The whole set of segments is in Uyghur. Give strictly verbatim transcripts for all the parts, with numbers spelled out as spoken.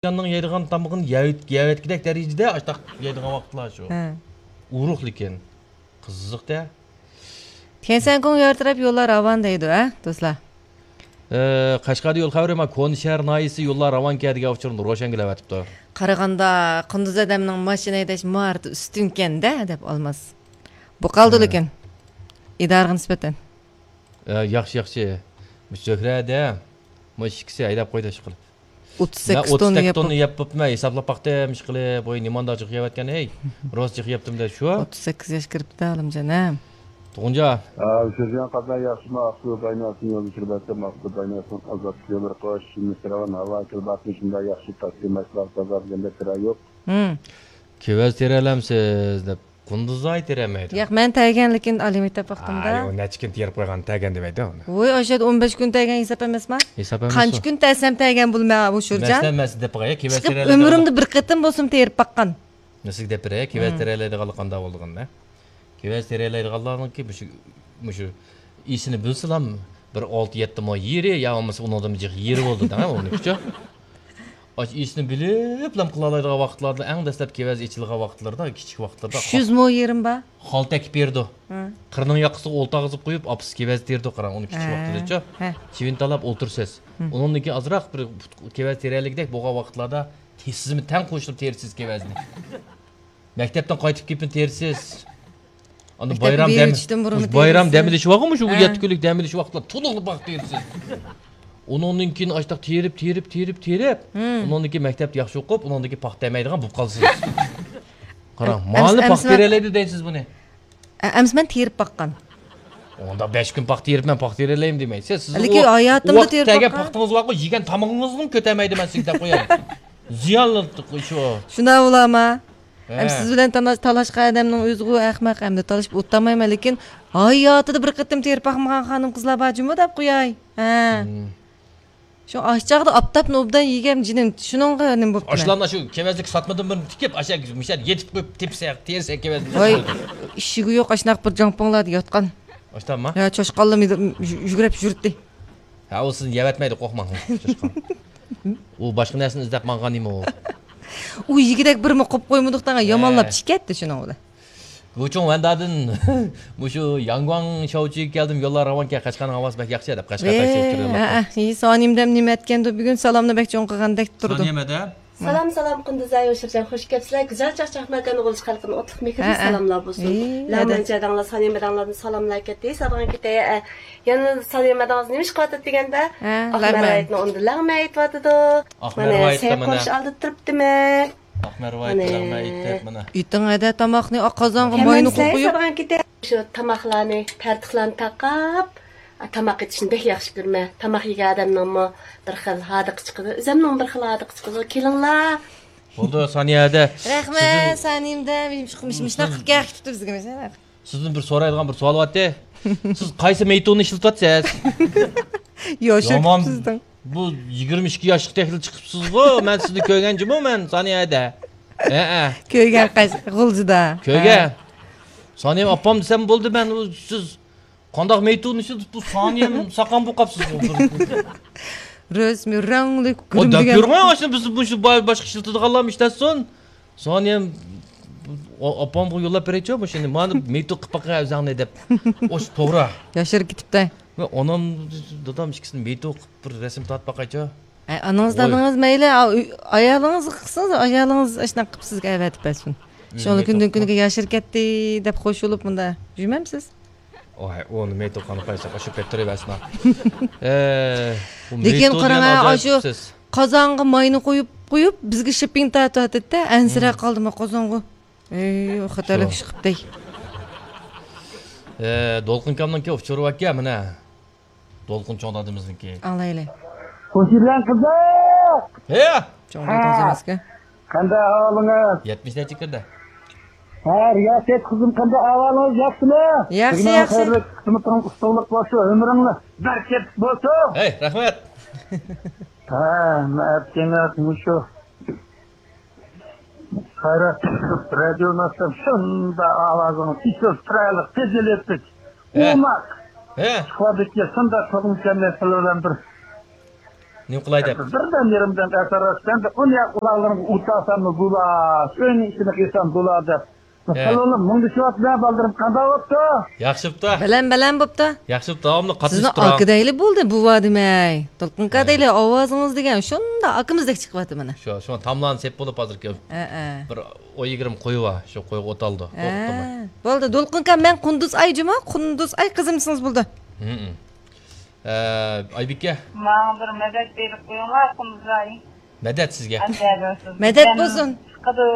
ياننىڭ يەيدىغان تامىقىنى يەۋېت-، يەۋەتكۈدەك دەرىجىدە ئاشتاق يەيدىغان ۋاقىتلار شۇ. ھە. ئۇرۇق لېكىن. قىزىق-دە. تيەنشەنگوڭ يار تەرەپ يوللار راۋان دەيدۇ، ھە، دوستلار؟ ئە، قەشقەردە يول خەۋىرى، ما، كونا شەھەر ناھىيەسى يوللار راۋانكەن دېگەن ئۇچۇرنى روشەنگۈل ئەۋەتىپتۇ. قارىغاندا، قۇندۇز ئادەمنىڭ ماشىنا ھەيدەش ماھارىتى ئۈستۈنكەن-دە، دەپ ئالماس. بۇ قالدى ھە. لېكىن. ئىدارىغا نىسبەتەن. ئە، ياخشى، ياخشى. مۇشۇ زۆھرەدە، مۇشۇ ئىككىسى ھەيدەپ قويدى، ئىشقىلىپ. ئوتتۇز سەككىز توننا يەپ بوپتۇ. يەپ بوپتۇ، مەن ھېسابلاپ باقتىم، ئىشقىلىپ، بۇ نېمانداق جىق يەۋەتكەن، ھەي. روست جىق يەپتىم-دە، شۇ. ئوتتۇز سەككىز ياش كىرىپتۇ، ئالىمجان، ھە. تۇغۇنجان. ھە، ئۇچۇرجان قاتناي ياخشىمۇ، ئاقسۇ بايناسىڭ يولدىشى بەتتىم، ئاقسۇ بايناسىڭ ئازادلىق يوللىرى قوش، شىملىق راۋان ھاۋا كىرباقنى شۇنداق ياخشى تاكسى ماشىنىلار تازا دېگەندەك كىرا يوق. ھىم. كېۋەز تېرەلەمسىز دەپ. قۇندۇزاي تېرەمەيدۇ. ياق، مەن تەگەن، لېكىن ئالىمەن دەپ باقتىمدا. ئاي، ئۇ نەچچە كۈن تېرىپ قويغان تەگەن دېمەيدۇ ئۇنى. ۋوي، ئاشۇ يەردە ئون بەش كۈن تەگەن ھېساب ئەمەسما؟ ھېساب ئەمەس قانچە ئۇ. كۈن تەسەم تەگەن بولما ئۇ شۇرجان؟ مەسىلەن، مەن سىزگە دەپ باقاي، كېۋەز چىقىپ تېرەلەيدىغان. ئۆمرۈمدە بىر قېتىم بولسىمۇ تېرىپ باققان. مەن سىزگە دەپ بېرەي، كېۋەز مم. تېرەلەيدىغانلىق قانداق بولىدىغىنىنى. كېۋەز تېرەلەيدىغانلارنىڭكى مۇشۇ، مۇشۇ ئىسىنى بىلسىلا، بىر ئالتە يەتتە مو يېرى يا بولمىسا ئۇنىڭدىن جىق يېرى بولىدۇ دەڭە، ئۇنىڭكىچۇ. ئاشۇ ئىسىنى بىلىپلا قىلالايدىغان ۋاقىتلاردا، ئەڭ دەسلەپ كېۋەز ئېچىلغان ۋاقىتلىرىدا، كىچىك ۋاقىتلىرىدا. ئۈچ يۈز مو يېرىم بار. خالتا ئەكىپ بېرىدۇ. ھە. قىرنىڭ ياقىسىغا ئولتۇرغۇزۇپ قويۇپ، ئاپىسى كېۋەز تېرىدۇ، قاراڭ، ئۇنى كىچىك ھە. ۋاقتىدىچۇ. ھە. چىۋىن تالاپ ئولتۇرىسىز. ھىم. ئۇنىڭدىن كېيىن ئازراق بىر كېۋەز تېرەلىگۈدەك بولغان ۋاقىتلاردا تېزىمۇ تەڭ قوشۇلۇپ تېرىسىز كېۋەزنى. مەكتەپتىن قايتىپ كېلىپمۇ تېرىسىز. ئاندىن مەكتەپكە بايرام دەم-، بېرىۋېتىشتىن بۇرۇن مۇشۇ بايرام تېرىسىز. دەم ئېلىش ۋاقتى، مۇشۇ ھە. يەتتە كۈنلۈك دەم ئېلىش ۋاقتىلار تولۇقلا پاختا تېرىسىز. ئۇنىڭدىن كېيىن ئاشتاق تېرىپ، تېرىپ، تېرىپ، تېرىپ. ھىم. ئۇنىڭدىن كېيىن مەكتەپتە ياخشى ئوقۇپ، ئۇنىڭدىن كېيىن پاختا دەمەيدىغان بولۇپ قالىسىز. قاراڭ، ئەم-، مانا ئەمسە پاختا مەن تېرەلەيدۇ دەيسىز بۇنى. ئە-، ئەمسە مەن تېرىپ باققان. ئۇنداق بەش كۈن پاختا تېرىپ، مەن پاختا تېرەلەيمەن دېمەيسىز. سىز لېكىن ئۇ ھاياتىمدا ۋاقىت تېرىپ كەلگەن باققان. پاختىڭىز بارغۇ، يېگەن تامىقىڭىزنىمۇ كۆتەرمەيدىمەن سىزگە دەپ قوياي. زىيانلىق شۇ. شۇنداق بولامە. ھە. ئەمدى سىز بىلەن تالا-، تالاشقان ئادەمنىڭ ئۆزىغۇ ئەخمەق، ئەمدى تالىشىپ ئولتۇرمايمەن، لېكىن ھاياتىدا بىر قېتىم تېرىپ باقمىغان خانىم قىزلار بار جۇمۇ دەپ قوياي. ھە. ھىم. شۇ ئاش چاغدا ئاپتاپنى ئوبدان يېگەن جېنىم، شۇنىڭغا نېمە بوپتۇ؟ ئاشۇلارنى شۇ كېۋەزلىك ساتمىدىم بىرنى تىكىپ، ئاشۇ مۇشۇ يېرىدە يېتىپ قويۇپ تېپسە، تېرىسە كېۋەزنى. ۋاي، ئىشىكى يوق، ئاشۇنداق بىر جاڭپۇڭلاردا ياتقان. ئاشۇنداقمۇ؟ ھە، چاشقانلىرىمۇ يۈ-، يۈگرەپ يۈرتتى. ھە، ئۇ سىزنى يەۋەتمەيدۇ، قورقماڭ. چاشقان. ئۇ باشقا نەرسىنى ئىزدەپ ماڭغان ئىمۇ. ئۇ يېگۈدەك بىرمۇ قويۇپ قويمىدۇق دەڭە، يامانلاپ ھە. ئىچىپ كەتتى شۇنىڭ بىلەن. گۇچۇڭ ۋەندادىن مۇشۇ ياڭگۇاڭ شاۋچىگە كەلدىم، يوللار راۋانكەن، قەشقەرنىڭ ھاۋاسى بەك ياخشى دەپ، قەشقەر ۋەي، تەكشى ئۆتكۈزۈپ ھە، ھە، ھېي، سانىيەم دەم نېمە ئەتكەندۇ بۈگۈن، سالامنى بەك چوڭ قىلغاندەك تۇرىدۇ. سانىيەم ھەدە. سالام، سالام، قۇندۇزاي، ھوشۇرجان، خۇش كەپسىلەر. گۈزەل چاقچاق ماكاننىڭ ئۇلۇش خەلقىدىن ئوتلۇق مېھىرلىك ھە، ھە. سالاملار بولسۇن. ھېي، لەڭمەن ھەدە. جەدەڭلار، سانىيەم ھەدەڭلاردىن سالاملار كەتتى. سادىغان كېتەي، ئە، يەنە سانىيەم ھەدەڭلار نېمە ئىش قىلىۋاتىدۇ دېگەندە، ھە، ئاقمەر لەڭمەن. ۋاھىتنى ئۇندا لەڭمەن ئېيتىۋاتىدۇ. ئاقمەر مانا، ۋاھىت سەي دېمەنە. قورۇش ئالدىدا تۇرۇپتىمەن. ئاقمەر ۋايىت، مانا. ئەيتىڭ ھەدە تاماقنى، ئاق قازانغا ماينى قويۇپ. كەلمەمسىلەر، سادىغان كېتەي. شۇ تاماقلارنى، تەرتىقلارنى تاقاپ، تاماق ئېتىشنى بەك ياخشى كۆرىمەن. تاماق يېگەن ئادەمنىڭمۇ بىر خىل ھاردۇقى چىقىدۇ. ئۆزۈمنىڭ بىر خىل ھاردۇقى چىقىدۇ. كېلىڭلار. بولدى، سانىيە ھەدە. رەھمەت، سانىيەم ھەدە. مۇشۇنداق قىلىپ كەلگەن كېتىپتۇ بىزگە مەسىلەن. سىزدىن بىر سورايدىغان بىر سوئال بارتى. سىز قايسى مېيتۇننى ئىشلىتىۋاتىسىز؟ يوشۇرۇپ يامان، سىزدىن. بۇ يىگىرمە ئىككى ياشلىق تېخىلا چىقىپسىزغۇ، مەن سىزنى كۆرگەن جۇمۇ مەن، سانىيە ھەدە. ھەئە. كۆرگەن قايسى؟ غۇلجىدا. كۆرگەن. ھە. سانىيەم ئاپام دېسەم بولدى، مەن ئۇ سىز قانداق مېيتۇننى ئىشلىتىپ، بۇ سانىيەم ساقام بولۇپ قاپسىزغۇ. رەسمىي رەڭلىك ئۇ گۈرۈم دەپ دېگەن. يۈرمەي، ئاشۇ بىز مۇشۇ با-، باشقا ئىشلىتىدىغانلارمۇ ئىشلەتسۇن. سانىيەم، ئا-، ئاپامغا يوللاپ بېرەيچۇ مۇشۇنى. مانا مېيتۇ قىلىپ باققىن ئۆزۈڭنى دەپ. ئوش توغرا. ياشىرىپ كېتىپتۇ. مەن ئانام، دادام ئىككىسىنى مېيتۇ قىلىپ بىر رەسىم تارتىپ باقايچۇ. ئەي، ئانىڭىز، ۋاي. دادىڭىز مەيلى، ئا، ئۆي-، ئايالىڭىز قىلسىڭىز، ئايالىڭىز ئاشۇنداق قىلىپ سىزگە ئەۋەتىپ بەرسۇن. ئۆزى شۇڭا مېيتۇ كۈندىن قىلىپ. كۈنگە ياشىرىپ كەتتى دەپ خوش بولۇپ مۇندا يۈرمەمسىز؟ ئوي، ئۇنى مېيتۇ قىلغان قايسى، شۇ پەتتە تۇرۇۋەرسىنا. ئە، بۇ لېكىن مېيتۇ قاراڭ، دېگەن ھە، ئاجايىپ ئاشۇ سۆز. قازانغا ماينى قويۇپ، قويۇپ، بىزگە شىپپىڭ تارتىۋاتىدۇ-دە، ئەنسىرەپ مم. قالدىمۇ قازانغۇ. ئەي، خەتەرلىك شۇ. ئىش قىپتەي. ئە، دولقۇن ئاكامنىڭكى ئۇچۇرى باركەن، مانا. دولقۇن چوڭ دادىمىزنىڭكى. ئاڭلايلى. خوشۇرجان قىزىق! ھە! چوڭ دادىڭىز ھە. ئەمەسكەن. قانداق ئەھۋالىڭىز؟ يەتمىش نەچچە كىردى؟ ھە، رىياسەت قىزىم، قانداق ئەھۋالىڭىز؟ ياخشىمۇ؟ ياخشى، بۈگۈن ياخشى. خەيرلىك، قىسمىتىڭىز ئۇتۇقلۇق بولسۇن، ئۆمرۈڭلار بەرىكەتلىك بولسۇن. ھەي، رەھمەت. ھە، مەن ئەتكەن مۇشۇ خەيرات رادىيونى ئاچسام، شۇنداق ئاۋازىڭىز ئېچىل، چىرايلىق، پەزىلەتلىك، ھە. ئوماق. ھە. ئىشقىلىدىكى شۇنداق چوقۇم كەلمەي سىلەر بىلەن بىر نېمە قىلاي دەپ. بىردەم يېرىمدەم ئەسەر رەسىدەم دەپ، ئۇنى ياق ئۇلاغلىرىمغا ئۇتاساممۇ بولا، ئۆينىڭ ئىچىنى قىلسام بولا دەپ. ھە. سەللىنىپ مۇڭدىشىۋاتىمەن، بالدۇرۇم قانداق بوپتۇ؟ ياخشى بوپتۇ. بەلەن، بەلەن بوپتۇ. ياخشى بوپتۇ، داۋاملىق سىزنى قاتنىشىپ تۇرۇڭ. ئاكا دەيلى بولدى، بوۋا دېمەي. دولقۇن ئاكا ھە. دەيلى، ئاۋازىڭىز دېگەن شۇنداق ئاكىمىزدەك چىقىۋاتىدۇ مانا. شۇ، شۇ تاملارنى سېپ بولۇپ ھازىركى ھە، ھە. بىر ئون يىگىرمە قويى بار، شۇ قويغا ئوت ئالدى. ھە. قورقۇتماي. بولدى، دولقۇن ئاكا، مەن قۇندۇز ئاي جۇمۇ، قۇندۇز ئاي قىزىم دېسىڭىز بولدى. ھە، ھە. ئە، ئايبىكە. ماڭا بىر مەدەت بېرىپ قويۇڭلار، قۇمزاي. مەدەت سىزگە. ئەمدى سىز مەدەت بىلەن بولسۇن. چىقىدۇ،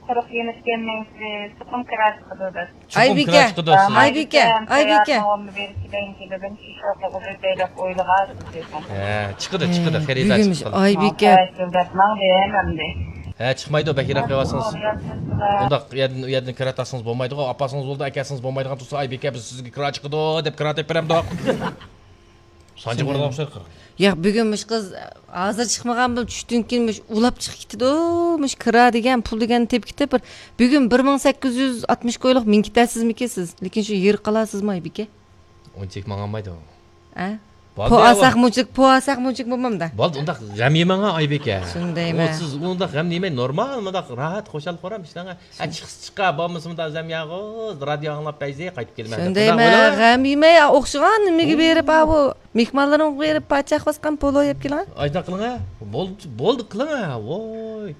قۇرۇق يېنىپ كەلمەيسىز، چوقۇم كىرا چىقىدۇ دەپ. چوقۇم ئايبىكە. كىرا چىقىدۇ سىز. ئايبىكە، ئايبىكە. سەييارىنىڭ ئورنىنى بېرىپ كېلەيىن، كېلىدىن شۇ شوقىغا بىر بەيلەپ ئويلىغان دېسەم. ھە، چىقىدۇ، چىقىدۇ، ھە، خېرىدار بۈگۈن چىقىدۇ. ئايبىكە. ماڭا دەپ ماڭدى ھەمدە. ھە، چىقمايدۇ، بەك يىراق قويۇۋاتسىڭىز. ئۇنداق يەردىن، ئۇ يەردىن كىرا تارتسىڭىز بولمايدىغۇ، ئاپارسىڭىز بولىدۇ، ئەكەلسىڭىز بولمايدىغان تۇرسا، ئايبىكە، بىز سىزگە كىرا چىقىدۇ دەپ كىرا تېپىپ بېرەمدۇق. سانجىغا ئۇرغان ئوخشايدۇ. ياق، بۈگۈن مۇشۇ قىز ھازىر چىقمىغان بولۇپ، چۈشتىن كېيىن مۇشۇ ئۇلاپ چىقىپ كېتىدۇ. مۇشۇ كىرا دېگەن پۇل دېگەننى تېپىپ كېتىپ، بىر بۈگۈن بىر مىڭ سەككىز يۈز ئاتمىش كويلۇق مىنىپ كېتەسىزمىكىن سىز؟ لېكىن شۇ يېرىپ قالارسىزمۇ، ئايبىكە؟ ئۇنچىلىك ماڭالمايدۇ. ئە؟ بولدى، پو ئالساق مۇنچىلىك، پو ئالساق مۇنچىلىك بولمامدا؟ بولدى، ئۇنداق غەم يېمەڭ، ئايبىكە. شۇندايمەن. ئۇ سىز ئۇنداق غەم يېمەي، نورمال، مۇنداق راھەت، خۇشال-خۇرام ئىشلەڭ. ھە، چىقسا چىقار، بولمىسا مۇنداق زەم ياغۇز، رادىيو ئاڭلاپ بەيزى قايتىپ كېلىمەن دەپ شۇندايمەن، مۇنداق ئويلاڭ. غەم يېمەي، ئوخشىغان نېمىگە بېرىپ، ئاۋۇ مېھمانلىرىڭغا بېرىپ پاچاق باسقان پولۇ يەپ كېلىڭە. ئاشۇنداق قىلىڭە. بولدى، بولدى، قىلىڭە. ۋوي.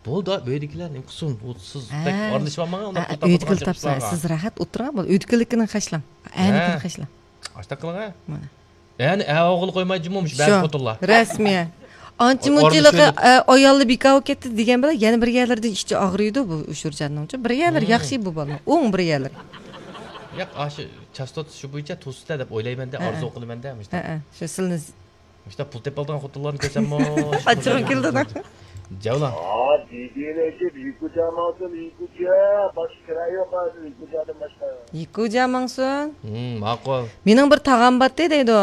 بولدى، ئۆيدىكىلەر نېمە قىلسۇن؟ ئۇ سىز بەك ھە. ئارىلىشىۋالماڭ، ئۇنداق ھە، پۇل ئۆيدىكىلەر تاپىدىغان تاپسا، گەپ چىقماغان. سىز راھەت ئولتۇرۇڭ، بولدى. ئۆيدىكىلىكىنى خەجلەڭ. ھە. ئەنىكىنى خەجلەڭ. ئاشۇنداق قىلىڭە. مانا. يەنى ئەۋ ئوغۇل قويمايدۇ جۇمۇ، مۇشۇ بەزى شۇ، خوتۇنلار. رەسمىي. ئانچە ئۇ-، مۇنچىلىقى، ئورنى ئە، ئايالى بىكار بولۇپ كەتتى دېگەن بىلەن يەنە بىر يەرلىرىدىن ئىچى ئاغرىيدۇ بۇ ئۇشۇرجاننىڭچۇ. بىر يەرلىرى مم. ياخشى بۇ بالىنىڭ. ئوڭ بىر يەرلىرى. ياق، ئاشۇ چاستوتىسى شۇ بويىچە توسۇسىدا دەپ ئويلايمەن-دە، ھە، ئارزۇ ھە. قىلىمەن-دە، مۇشۇنداق. ھە، ھە. شۇ سىلنى ز- مۇشۇنداق پۇل تېپىپ ئالىدىغان خوتۇنلارنى كۆرسەممۇ. ئاچچىقىم كېلىدۇ. جاۋلا. ئا، دېدى نەجىپ، يىكۇجا ماڭسۇن، يىكۇجا. باشقا كىرا يوق ھازىر، يىكۇجادىن باشقا. يىكۇجا ماڭسۇن. ھىم، ماقۇل. مېنىڭ بىر تاغام باتتى دەيدۇ.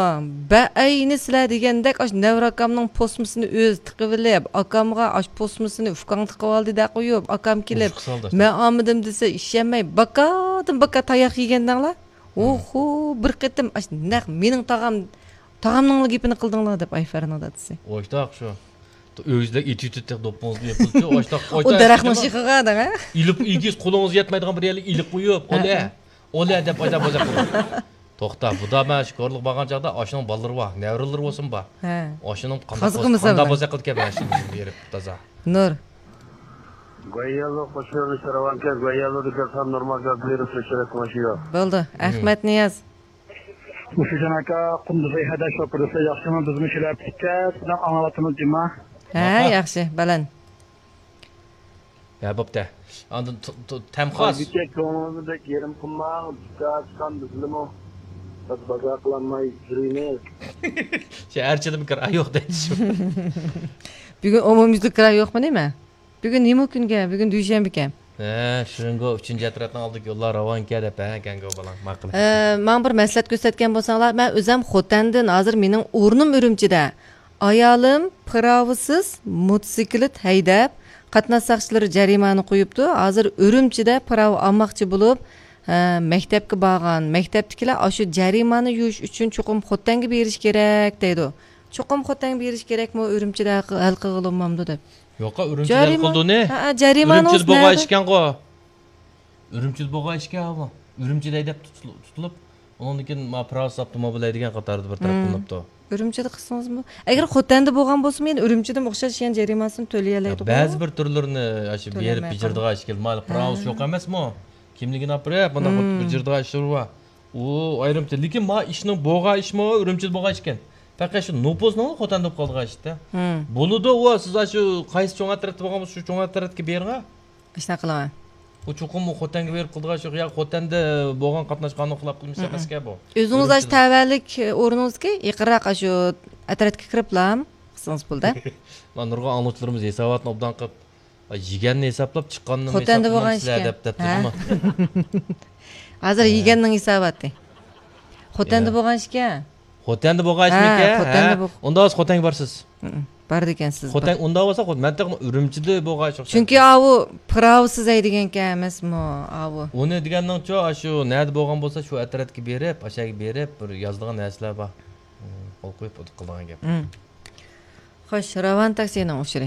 بەئەينى سىلەر دېگەندەك، ئاشۇ نەۋرە ئاكامنىڭ پوسمىسىنى ئۆزى تىقىۋېلىپ، ئاكامغا ئاشۇ پوسمىسىنى ئۇكاڭ تىقىۋالدى دە قويۇپ، ئاكام كېلىپ، مۇشۇ خىسالدا. مەن ئالمىدىم دېسە، ئىشەنمەي، باكادىن باكا تاياق يېگەندەڭلار. ھىم. ئوھو، بىر قېتىم ئاشۇ نەق مېنىڭ تاغام، تاغامنىڭلا گېپىنى قىلدىڭلار دەپ، ئايفەرنىڭ دادىسى. ئوشتاق شۇ. ئۆزلەر ئېتىۋېتىدۇ تېخى دوپپىڭىزنى يېپىلچە، ئوشتاق، ئۇ ئوشتاق دەرەخنىڭ شېخىغا دەڭە. ئېلىپ، ئىگىز قولىڭىزغا يەتمەيدىغان بىر يەرلىك ئېلىپ قويۇپ، ھە، ئولە، ھە. ئولە دەپ ئايدا بوزەك قىلىڭ. توختا، بۇدا مەن شۇ كورلۇققا بارغان چاغدا ئاشۇنىڭ بالىلىرى بار، نەۋرىلىرى بولسۇن بار. ھە. ئاشۇنىڭ قانداق قازىقى بولسا، مىسال قانداق بىلەن. بوزەك قىلىدىكەن مەن شۇنى بېرىپ تازا. نۇر. گۇەييالو قوشۇنى ساراۋانكە، گۇەييالودا كۆرسەم نورمال گاز بېرىپ سۆشۈرەك قوشۇيو. بولدى. ھىم. ئەخمەت نىياز. مۇشۇجان ئاكا، قۇمدۇزاي ھەدە شوپۇردىسى ياخشىمۇ؟ بىزمۇ كېلەپ كەتكەچ، بۇنداق ئاڭلاۋاتىمىز جۇما. ھە، ماقۇل. ياخشى، بەلەن. ھە، بوپتۇ. ئاندىن ت-، ت-، تەمخاس. ئايبىكە، كۆڭلىڭىزنى بەك يېرىم قىلماڭ. بىكار چىققان بىزلىمۇ بىز بازار قىلالماي يۈرىمىز. شەھەرچىدىمۇ كىرا يوق دەيدۇ شۇ. بۈگۈن ئومۇميۈزلۈك كىرا يوقمۇ نېمە؟ بۈگۈن نېمە كۈنكەن؟ بۈگۈن دۈشەنبىكەن. ھە، شۇڭگو ئۈچىنچى ئەترەتنىڭ ئالدىدىكى يوللار راۋانكەن دەپ، ھە، كەڭگو بالاڭ. ماقۇل. ئە، ماڭا بىر مەسلىھەت كۆرسەتكەن بولساڭلار، مەن ئۆزەم خوتەندىن، ھازىر مېنىڭ ئورنۇم ئۈرۈمچىدە. ئايالىم پىراۋىسىز موتوسىكلىت ھەيدەپ، قاتناش ساقچىلىرى جەرىمانە قويۇپتۇ. ھازىر ئۈرۈمچىدە پىراۋا ئالماقچى بولۇپ، ھە، مەكتەپكە بارغان. مەكتەپتىكىلەر ئاشۇ جەرىمانە يۇيۇش ئۈچۈن چوقۇم خوتەنگە بېرىش كېرەك دەيدۇ. چوقۇم خوتەنگە بېرىش كېرەكمۇ، ئۈرۈمچىدە ھەل قىل-، ھەل قىلغىلى بولمامدۇ دەپ. يوقا، ئۈرۈمچىدە ھەل جەرىما-، قىلدۇنى. ھە، ھە، جەرىمانە ئۈرۈمچىدە بولغان ئىشكەنغۇ. ئۈرۈمچىدە بولغان ئىشكەن بۇ. ئۈرۈمچىدە ھەيدەپ تۇتۇلۇپ، تۇتۇلۇپ، ئۇنىڭدىن كېيىن ما پىراۋىسىز ئاپتوموبىل ھەيدىگەن قاتارىدا بىر تەرەپ قىلىنىپتۇ. ئۈرۈمچىدە قىلسىڭىزمۇ. ئەگەر خوتەندە بولغان بولسىمۇ، يەنە ئۈرۈمچىدىمۇ ئوخشاش يەنە جەرىمانىسىنى تۆلىيەلەيدىغۇ. بەزى بىر تۈرلىرىنى ئاشۇ بېرىپ بېجىرىدىغان ئىش كېلىدۇ. مانا پىراۋىسى يوق ئەمەسمۇ؟ كىملىكىنى ئاپىرىپ، مۇنداق بىر بېجىرىدىغان ئىشلىرى بار. ئۇ ئايرىمچە. لېكىن ما ئىشنىڭ بولغان ئىشمۇ ئۈرۈمچىدە بولغان ئىشكەن. پەقەت شۇ نوپۇزنىڭ خوتەندە بولۇپ قالىدىغان ئىشتا. بولىدۇ ئۇ، سىز ئاشۇ قايسى چوڭ ئەترەتتە بولغان بولسا، شۇ چوڭ ئەترەتكە بېرىڭە. ئاشۇنداق قىلىڭە. ئۇ چوقۇم ئۇ خوتەنگە بېرىپ قىلىدىغان ئىش يوق. يا خوتەندە بولغان قاتناش قانۇن خىلاپ قىلمىش ئەمەسكەن بۇ. ئۆزىڭىز ئاشۇ تەۋەلىك ئورنىڭىزدىكى يېقىنراق ئاشۇ ئەترەتكە كىرىپلا قىلسىڭىز بولدى. مانا نۇرغۇن ئاڭلىغۇچىلىرىمىز ھېساباتنى ئوبدان قىلىپ، يېگەننى ھېسابلاپ، چىققاننىمۇ خوتەندە بولغان ئىشكەن. دەپ دەپتۇ جۇمۇ. ھازىر يېگەننىڭ ھېساباتى. خوتەندە بولغان ئىشكەن. خوتەندە بولغان ئىشمىكەن؟ خوتەندە بولغان. ئۇنداق بولسا خوتەنگە بارسىز. بارىدىكەنسىز. خوتەن، ئۇنداق بولسا، مەن تېخى ئۈرۈمچىدە بولغان ئىش. چۈنكى ئاۋۇ پىراۋىسىز ھەيدىگەنكەن ئەمەسمۇ ئاۋۇ. ئۇنى دېگەننىڭچۇ، ئاشۇ نەدە بولغان بولسا، شۇ ئەترەتكە بېرىپ، ئاشەگە بېرىپ، بىر يازىدىغان نەرسىلەر بار. قول قويۇپ قىلىدىغان گەپ. خوش، راۋان تاكسىنىڭ ئۇچۇرى.